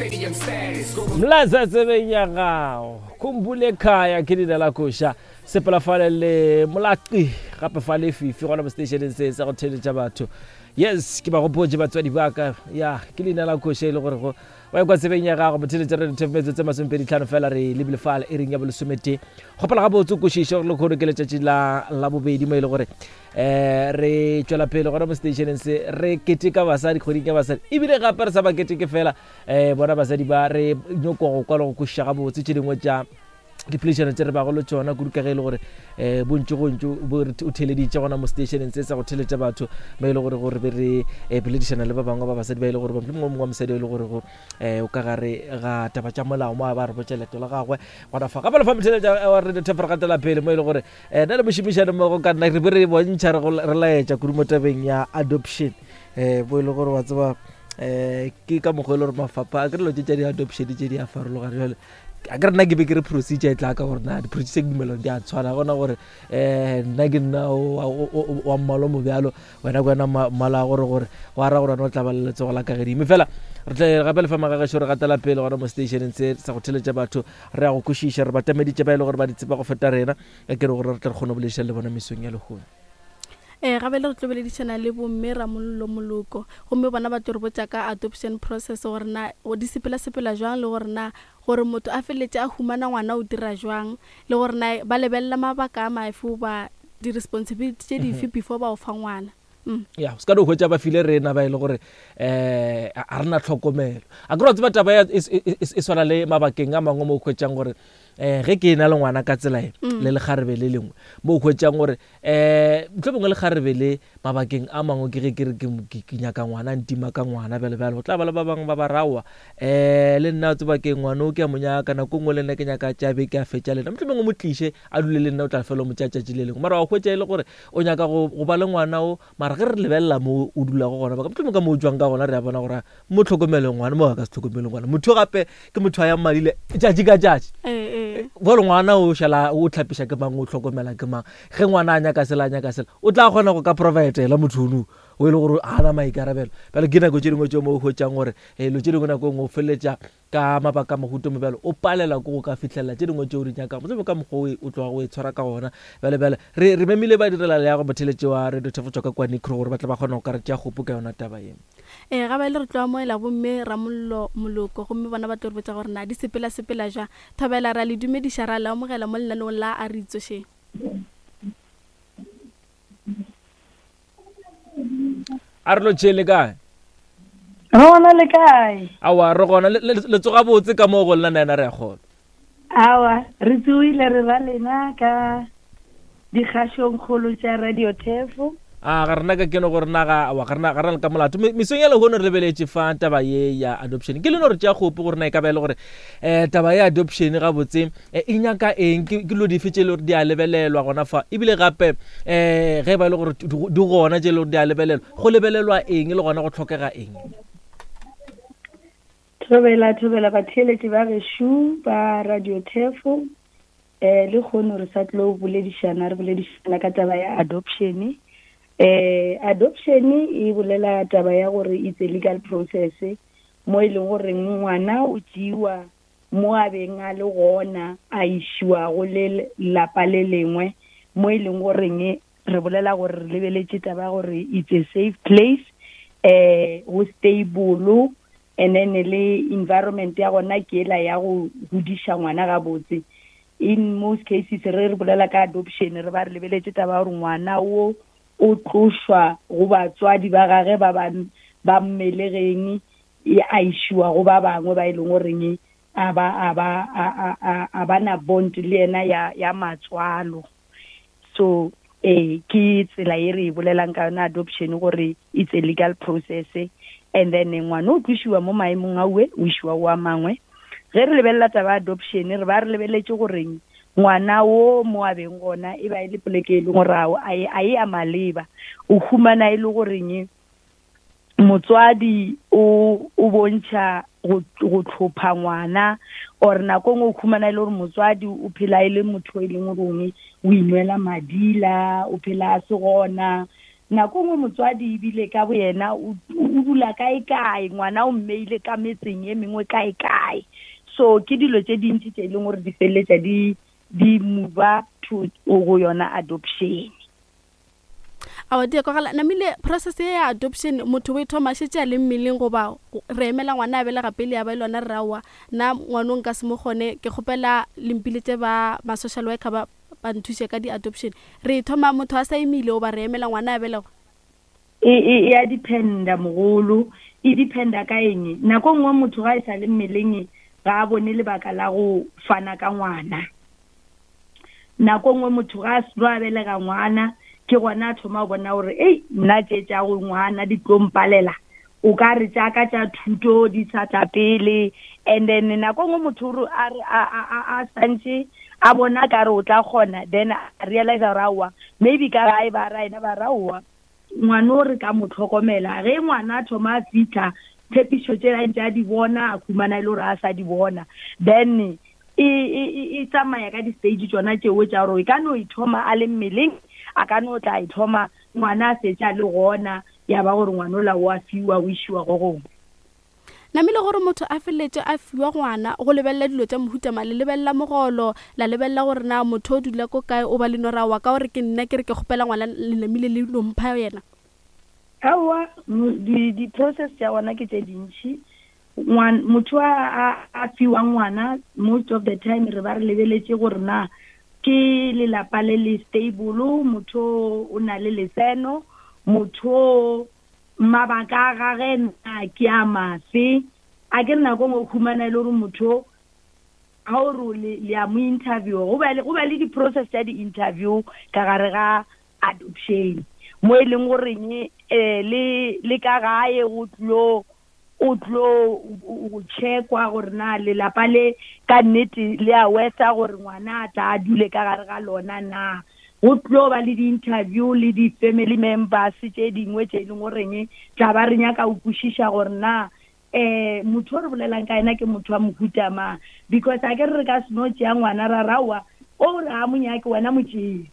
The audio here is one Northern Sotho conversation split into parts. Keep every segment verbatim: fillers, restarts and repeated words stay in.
Mlaza tsebeng ya gago khumbule khaya ke leina la koša sepela fale le molaqi gape fa le fifi gona mo stationeng se sa go theletša batho. Yes, ke ba gopotse batswadi ba ka ya ke leina la koša e le gore go wa ekwa tsebeng ya gago motheletša re metsotso tse masomepedi tlhano fela re lebile fale e reng ya bolesometee. Gopela gabotse o kwešiše gore lekgono ke letšatši la labobedi mo e le gore um re tšwela pele gona mo stationeng se re keteka basadi kgweding ya basadi, ebile gape re sa ba keteke fela um bona basadi ba re nyoko go kwa le go kwešiša gabotse tše dingwe tša dipoledišano tse re bago le tšona kudu ka ge e le gore um bontši gontši bo re o theleditše gona mo stationeng se sa go theletša batho mo e le gore gore be re eh, boledišana le ba bangwe ba basadi ba e le gore mohlomongwe mongwe wa mosadi e le gore go um o ka gare ga taba tša molao mo a ba re botša leeto la gagwe gona fa. Gape le fa motheletša wa radio Thefo re gatela pele mo e le gore um nna le mošomišane mmogo ka nna re be re bontšha re go- re laetša kudu mo tabeng ya adoption um bo e le gore wa tseba um ke ka mokgwa e le gore mafapha a ke dilo tše tša di-adoption tše di a farologana. Jale a ke re nna ke be ke re procedure e tla ka gore na di-procedure ke dumela di a tshwana gona gore um nna ke nna wa mmalo mo bjalo wena ke wena mmala gore gore go ara gore wena o tla ba le letsogo la ka gedimo. Fela re tle gape le fa magagešo re gatela pele gona mo stationeng se sa go theletša batho re ya go kwešiša re batameditše ba e le gore ba di tseba go feta rena ka ke re gore re tle re kgone go boledišana le bona mesong ya lehono. Ee, gape le re tlo boledišana le bomme Ramollo Moloko gomme bona ba tlo re botša ka adoption process gore na go di sepela-sepela jwang le gore na gore motho a feleletše a humana ngwana o dira jwang le gore na ba lebelela mabaka a mafe goba di-responsibility tše dife before ba o fa ngwana. Mm. Ya se ka no hwetša ba file rena ba e le gore um a re na tlhokomelo a ke re wa tseba taba ya e, e, e, e swana le mabakeng a mangwe mo o hwetšang gore um ge ke na le ngwana ka tsela e le lekgarebe le lengwe mo o hwetšang gore um mohlomongwe lekgarebe le mabakeng a mangwe ke ge ke re ke ke nyaka ngwana ntima ka ngwana bjale bjale go tla ba le ba bangwe ba ba rawa um le nna o tseba ke ngwana o ke a mo nyaka nako nngwe le nna ke nyaka tša beke a fetša le nna mohlomongwe mo tliše a dule le nna o tla fela o mo tšea tšatši le lengwe mara wa hwetša e le gore o nyaka go go ba le ngwana o mara ge re lebelela mo o dulago gona ba mohlomongwe ka mo o tswang ka gona re a bona gore mo tlhokomele ngwana mo a ka se tlhokomele ngwana motho gape ke motho a yang madile tšatši ka tšatši Ee, ee. bjale ngwana o šala o tlhapiša ke mang o tlhokomela ke mang ge ngwana a nyaka sela a nyaka sela o tla kgona go ka providela motho ono o e le gore a na maikarabelo. Bjale ke nako tše dingwe tšeo mo o hwetšang gore dilo tše dingwe nako e nngwe o feleletša ka mabaka a mohuta mo bjalo o palela ke go ka fihlelela tše dingwe tšeo di nyakago mohlomongwe ka mokgwa o o tloga o e tshwara ka gona. Bjale bjale re re memile ba direla leago motheletše wa radio Thefo tšwa ka kwa Nicro gore ba tle ba kgone go ka re tšea kgopo ka yona taba ye. Ee, gape le re tlo amoela bomme Ramollo Moloko gomme bona ba tlo re botša gore na di sepela-sepela jwang. Thobela ra le dumediša ra le amogela mo lenaneong la a re itsošeng. A re lotšheng le kae? Re gona le kae? Aowa re gona le tsoga botse ka moo go lena nna re a kgona. Aowa re tsoile re ba lena ka dikgašong kgolo tša Radio Thefo. A ga rena ka keno gore na ga aowa ga rena ga rena le ka molato. Mesong ya lehono re lebeletše fa taba ye ya adoption. Ke le no re tšea kgopo gore na e ka ba e le gore um taba ya adoption gabotse e nyaka eng ke dilo dife tše e le gore di a lebelelwa gona fa ebile gape um ge e ba e le gore di gona tše e le gore di a lebelelwa go lebelelwa eng le gona go tlhokega eng. Thobela thobela batheeletši ba gešo ba Radio Thefo eh le kgono re sa tlo boledišana re boledišana ka taba ya adoption. Eh adoption e bolela taba ya gore it's a legal process mo e leng gore ngwana o tšeiwa mo a beng a le gona a išiwa go le lapa le lengwe mo e leng goreng re bolela gore re lebeletše taba ya gore it's a safe place eh go stable and then le environment ya gona ke ela ya go godiša ngwana gabotse. In most cases re re bolela ka adoption re ba re lebeletše taba ya gore ngwana o o tlošwa go batswadi ba gage ba ba ba mmelegeng a išiwa go ba bangwe ba e leng goreng a ba a ba a a a ba na bond le yena ya ya matswalo. So eh ke tsela e re e bolelang ka yona adoption gore it's a legal process and then ngwana o tlošiwa mo maemong a uwe o išiwa go a mangwe. Ge re lebelela taba ya adoption re ba re lebeletše goreng ngwana o mo a beng gona e ba e le poleke e leng gore a e a maleba o humana e le goreng motswadi o o bontšha go go tlhopha ngwana or nako nngwe o humana e le gore motswadi o phela e le motho e leng gore o inwela madila o phela a se gona Nako nngwe motswadi ebile ka boyena o o dula kae kae, ngwana o mmeile ka metseng e mengwe kae kae. So ke dilo tše dintši tše e leng gore di feleletša di di move to go yona adoption. Aowa, di a kwagala. Namile process ye ya adoption, motho o e thoma a šetše a le mmeleng, goba re emela ngwana a belega pele ya ba e lona re aowa nna ngwanong nka se mo kgone, ke kgopela lempiletše ba ma-social worker ba ba nthuše ka di-adoption? Re e thoma motho a sa imile, goba re emela ngwana a belegwa? E e ya dependa, mogolo, e dependa ka eng. Nako nngwe motho ga e sa le mmeleng ga a bone lebaka la go fana ka ngwana. Nako nngwe motho ga a seno a belega ngwana, ke gona a thoma go bona gore ei, nna tše tša go ngwana di tlo mpalela, o ka re tša ka tša thuto di sa tla pele. And then nako nngwe motho o re a re a a a a santše a bona ka re o tla kgona, then a realize gore aowa, maybe ka gae ba ra ena ba ra aowa, ngwana o re ka mo tlhokomela. Ge ngwana a thoma a fitlha, tshepišo tše a ntse a di bona, a khumana e le gore a sa di bona. Then e e e tsamaya ka di-stage tsona tšeo tša gore e ka no e thoma a le mmeleng, a ka no tla e thoma ngwana a setse a le gona, ya ba gore ngwana ola o a fiwa, o išiwa go gongwe. Namile gore motho a feleletše a fiwa ngwana, go lebelela dilo tša mohuta mang? Le lebelela mogolo, la lebelela gore na motho o dula ko kae, o ba le no ra wa ka gore ke nna ke re ke kgopela ngwana, le namile le no mpha yena? Aowa, di-process tša gona ke tše dintšhi. Motho a a fiwang ngwana, most of the time re ba re lebeletše gore na ke lelapa le le stable, motho o na le letseno, motho mabaka a gage na ke a mafe. A ke re nako nngwe o khumana e le gore motho ga o re le le a mo interview, go ba le go ba le di-process tša di-interview ka gare ga adoption, mo e leng goreng um le le ka gae go tlo o tlo go checkwa gore na lelapa le ka nnete le a wetsa gore ngwana a tla a dule ka gare ga lona na. Go tlo ba le di-interview le di-family members tše dingwe tše e leng goreng tla ba re nyaka go kwešiša gore na um motho o re bolelang ka ena ke motho wa mohuta mang, because a ke re re ka se no tšea ngwana ra raowa o re a mo nyake, wena mo tšee.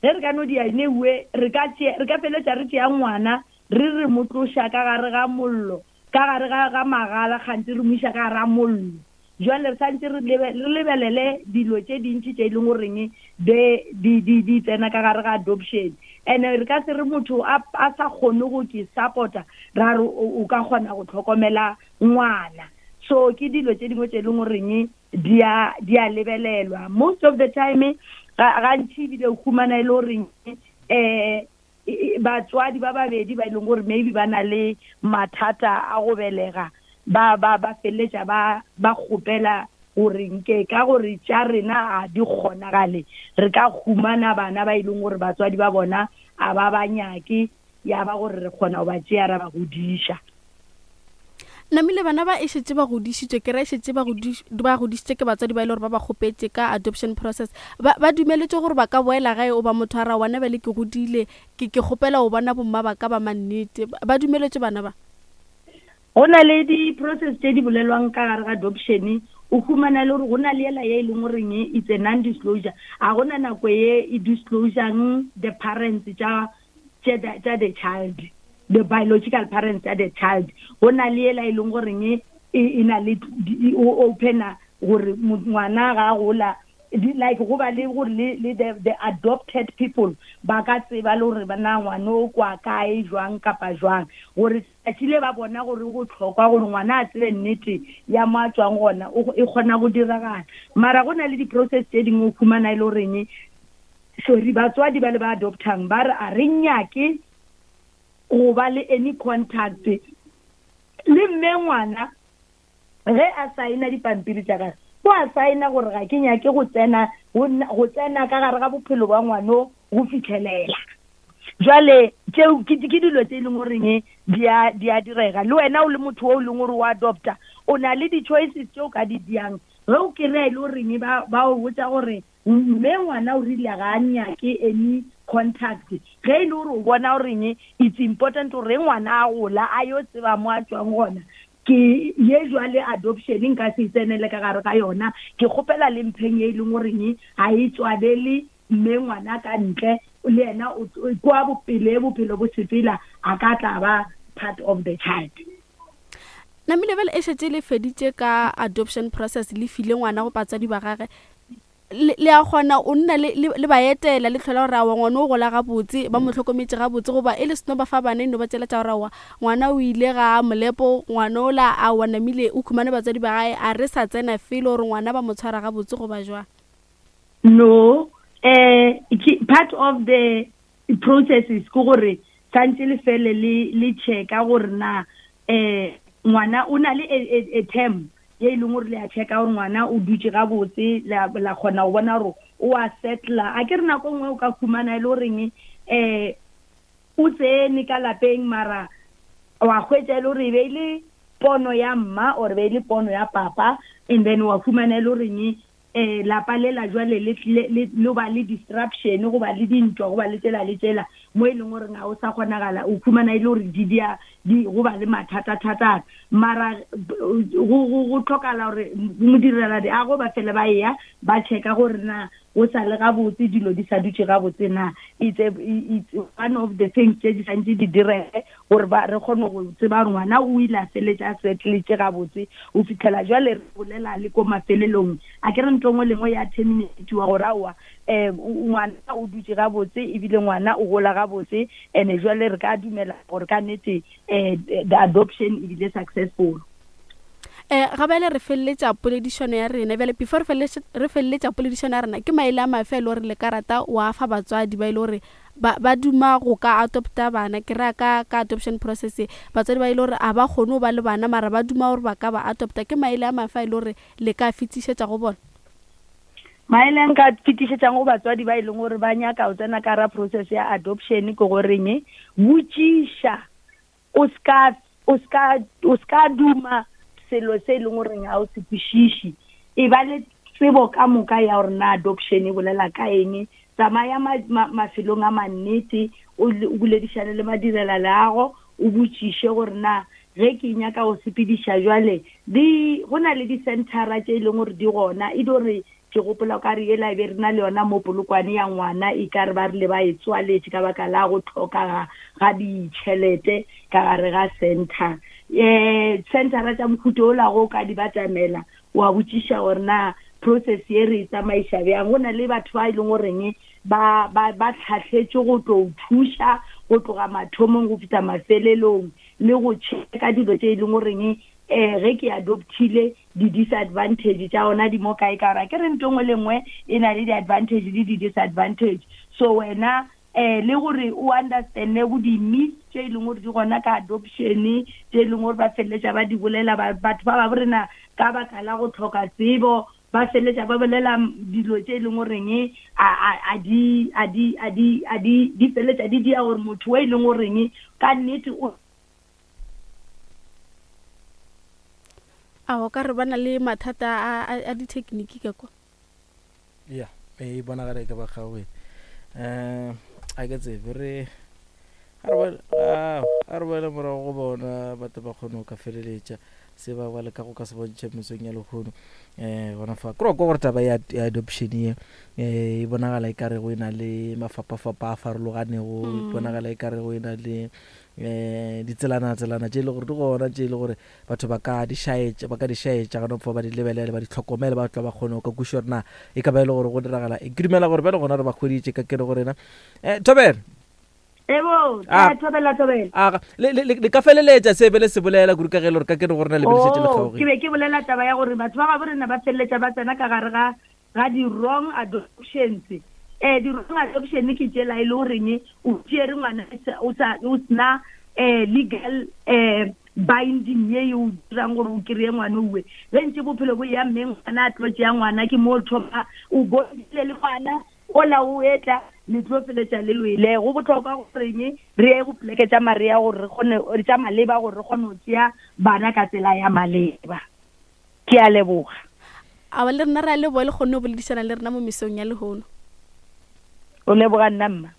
Ge re ka no dia newe, re ka re ka feletša re tšea ngwana re re mo tloša ka gare ga mollo, ka gare ga ga magala, kganthe re mo iša ka gare ga mollo. Jwale re santse re lebelele dilo tše dintši tše e leng goreng de di di di tsena ka gare ga adoption. And re ka se re motho a a sa kgone go ke support-a, ra re o ka kgona go tlhokomela ngwana. So ke dilo tše dingwe tše e leng goreng di a di a lebelelwa most of the time. Gantši ebile o humana e le goreng um batswadi ba babedi ba e leng gore maybe ba na le mathata a go belega, ba ba ba feleletša ba ba kgopela gore nke ka gore tša rena a di kgonagale, re ka humana bana ba e leng gore batswadi ba bona a ba ba nyake, ya ba gore re kgona go ba tšea ra ba godiša. Namile bana ba e šetše ba godišitšwe, ke ra e šetše ba godišitše ke batswadi ba e le gore ba ba kgopetše ka adoption process, ba ba dumeletše gore ba ka boela gae, o ba motho a ra wana bjale ke godile, ke ke kgopela go bona bomma ba ka ba mannete, ba dumeletše bana ba? Go na le di-process tše di bolelwang ka gare ga adoption. O humana le gore go na le ela ye e leng goreng it's a non disclosure, a gona nako ye e disclosang the parents tša tša the child, the biological parents tša the child. Go na le ela e leng goreng e na le o opena gore ngwana ga a gola, like go ba le gore le le the, the adopted people ba ka tseba le gore na ngwana o kwa kae, jwang kapa jwang, gore tsatsi le ba bona gore go tlhokwa gore ngwana a tsebe nnete ya mo a tswang gona, e kgona go diragala. Mara go na le di-process tše dingwe o khumana e le goreng, sorry, batswadi ba le ba adoptang ba re a re nyake go ba le any contact le mme ngwana. Ge a saena dipampiri tša gage, o a saena gore ga ke nyake go tsena go tsena ka gare ga bophelo ba ngwano go fitlhelela jwale. Tšeo ke dilo tse e leng goreng di a di a direga. Le wena o le motho o leng gore o adopta, o na le di-choices tse o ka di diang. Ge o kry-a e le goreng ba ba o botsa gore mme ngwana o rile ga a nyake any contact, ge e le gore o bona goreng it's important gore ngwana a gola a yo tseba mo a tswang gona, ke ye jwale adoption nka se tsenele ka gare ga yona, ke kgopela le mpheng ye e leng goreng ga e tswalele mme ngwana ka ntle. le yena kwa bopele bophelo bo sepela a ka tla ba part of the child. Namile bjale e šetše le feditše ka adoption process, le file ngwana go batswadi ba gage, le a kgona o nna le ba etela le tlhola gore aowa ngwana o gola gabotse, ba mo hlokometše gabotse, goba e le seno ba fa bana e no ba tšela tša gore aowa ngwana o ile ga molepo, ngwana ola aowa namile o khumane batswadi ba gae, a re sa tsena felo gore ngwana ba mo tshwara gabotse goba jwang? No, eh part of the process is ke gore santse le fele le le checka gore na eh ngwana o na le a term ye e leng gore le a checka gore ngwana o dutše gabotse, la kgona go bona gore o a settla. A ke re nako nngwe o ka khumana e le goreng um o tsene ka lapeng mara wa hwetša e le gore e be e le pono ya mma or be e le pono ya papa, and then wa khumana e le goreng eh lapa le la jwale le le ba le disruption, go ba le dintwa, go ba le tsela le tsela mo e leng gore ga o sa kgonagala, o khumana e le gore di dia di go ba le mathata thata. Mara go go tlhokala gore modirela di a go ba fele ba ya ba checka gore na o sa le gabotse, dilo di sa dutše gabotse na. It's a, it's one of the things tse di santse di direge gore ba re kgone go tseba gore ngwana o ile a feletša a settletše gabotse o fitlhela jwale re bolela le ko mafelelong. A ke re ntho nngwe le nngwe ya terminatiwa gore aowa um ngwana o dutše gabotse ebile ngwana o gola gabotse, and jwale re ka dumela gore ka nnete um the adoption ebile successful. Eh ga bjale re feleletša poledišano ya rena bjale, before re feleletša poledišano ya rena, ke maele a mafe e le gore le ka rata wa fa batswadi ba e le gore ba ba duma go ka adopta bana? Ke ra ka ka adoption process, batswadi ba e le gore a ba kgone go ba le bana mara ba duma gore ba ka ba adopta, ke maele a mafe e le gore le ka fetišetša go bona? Maele a nka fetišetšang go batswadi ba e leng gore ba nyaka go tsena ka ra process ya adoption ke goreng botšiša, o ska o ska o ska duma selo se e leng gore ga o se kwešiše, e ba le tsebo ka moka ya gore na adoption e bolela ka eng, tsamaya mafelong a mannete, o boledišane le madirela leago, o botšiše gore na ge ke nyaka go sepediša jwale di go na le di-centera tše e leng gore di gona, e di gore ke gopola ka re ela e be re na le yona mo Polokwane ya ngwana, e ka re ba rile ba e tswaletše ka baka la go tlhoka ga ditšhelete ka gare ga center. Eh centera tša mohuta ola go ka di batamela wa botšiša gore na process ye re e tsamaiša bjang. Go na le batho ba e leng goreng ba ba ba tlhahletše go tlo thuša go tloga mathomong go fihla mafelelong le go checka dilo tše e leng goreng eh ge ke adoptile di-disadvantage tša ona di mo kae, ka gore ke re ntho nngwe le nngwe e na le di-advantage le di-disadvantage. So wena eh le gore o understande go di-myths tše e leng gore di gona ka adoption, tše e leng gore ba feleletša ba di bolela batho ba ba bo rena ka baka la go tlhoka tsebo, ba feleletša ba bolela dilo tše e leng goreng a di a di a di a di di feleletša di dia gore motho o e leng goreng ka nnete o a o ka re ba na le mathata a a dithekniki ka kwa. Ya e bonagala e ka ba kgaoge um a ke tsebe re a re boele morago go bona batho ba kgone go ka feleletša se ba ba leka go ka se bontšha mesong ya lehono. Um gona fa ke kwa gore taba ya adoption ye e bonagala e ka re go e na le mafapafapa a farologanego, e bonagala e ka re go e na le um ditselana-tselana tše e le gore di gona tše e le gore batho ba ka di šaetša, ba ka di šaetša gona fa ba di lebelele, ba di tlhokomele, ba tla ba kgone go ka kwešiša gore na e ka ba e le gore go diragala. Ke dumela gore bjale gona re ba hweditše ka kere go rena. um Thobela. Ebo, thobela thobela. A le le le ka feleletša se be le se bolela kudu ka ge le gore ka ke re go rena le beleletše le kgaoge. Ke be ke bolela taba ya gore batho ba gabo rena ba feleletša ba tsena ka gare ga ga di-wrong adoptions. Eh di-wrong adoption ke tšela e le goreng o tšere ngwana o sa o sena eh legal eh binding ye e o dirang gore o kry-e ngwana owe. Ge ntse bophelo bo ya mme ngwana a tlo tšea ngwana ke mo thoma o bondile le ngwana ola o etla le tlo feletša le lwele. Go botlhokwa goreng re ye go poleke tša marea gore re kgone tša maleba gore re kgone go tšea bana ka tsela ya maleba. Ke a leboga. A le rena re a leboga le kgonne go boledišana le rena mo mesong ya lehono. O leboga nna mma.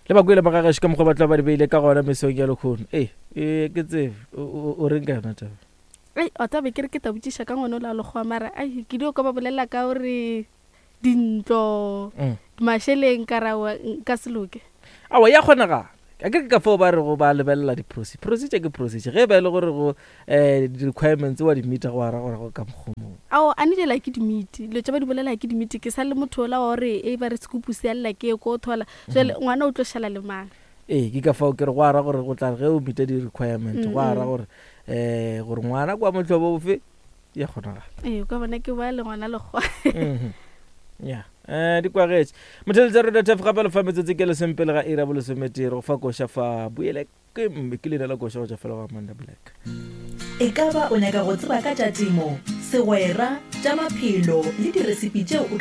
Le ba kwele bagagešo ka mokgwa ba tla ba di beile ka gona mesong ya lehono. Ee e ke tsebe o reng ka yona taba? Ei o tabe ke re ke tla botšiša ka ngwana o la lekgowa mara ai ke dio ka ba bolela ka gore Dintlo, Mm. mašeleng ka ra wa- nka se loke. Aowa, ya kgonagala. A ke re ke ka fao ba rego ba lebelela di-procedure. Procedure ke procedure. Ge e ba e le gore go um di-requirements wa di meeta, go ara gore go ka mokgwa o mongwe. Ao, a ne jela ke di-meet, dilo tse ba di bolela ke di-meet. Ke sa le motho ola wa gore e ba re sekupu se a lla ke ye ko thola. Jwale ngwana o tlo šala le mang? Ee, ke ka fao ke re go ara gore go tla re ge o meeta di-requirement, go ara Mm, mm. gore um gore ngwana kwa mohlobo ofe, ya kgonagala. Ee, o ka bona ke boya le ngwana lekgowa. Mhm. Ya, um di kwagetše motheletša radio Turf gape le fa metsotso ke lesomepele ga iri ya bolesometee. Go fa koša fa boele ke mme ke leina la koša go tšwa fela go Amanda Black. E ka ba o nyaka go tseba ka tša temo, segwera, tša maphelo le diresipi tšeo o ka